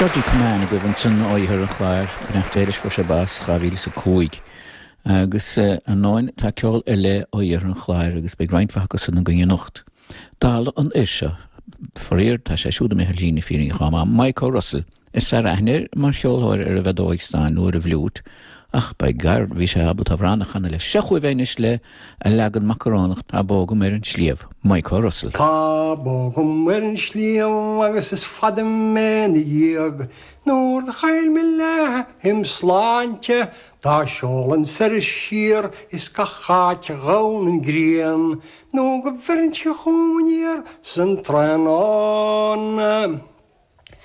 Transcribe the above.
Georgie Commane agaibh ansan ó Iarthar an Chláir, beannacht Dé leis, fuair sé bás 2005. Agus ar ndóin tá ceol ar leith ó Iarthar an Chláir agus beidh roinnt mhaith acu san againn anocht. Dála an fhir seo, faraor tá sé siúd imithe ar shlí na fírinne chomh maith, Mike O'Russell. Is fearr aithne air mar cheolthóir ar an bhfeadóig stáin nó ar an bhfliúit, ach by gar, bhí sé ábalta amhrán a chanadh leis. Seo chugaibh é anois le a leagan macarónach Tá bó agam ar an sliabh, Mike O'Russell. Tá bó agam ar an sliabh agus is fada mé 'na dhiaidh Nuair do chaill mé leath im shláinte Dá seolainn soir is siar is gach áit a ghabhann an ghrian Nó go bheireann sí chugam aniar san tráthnóna.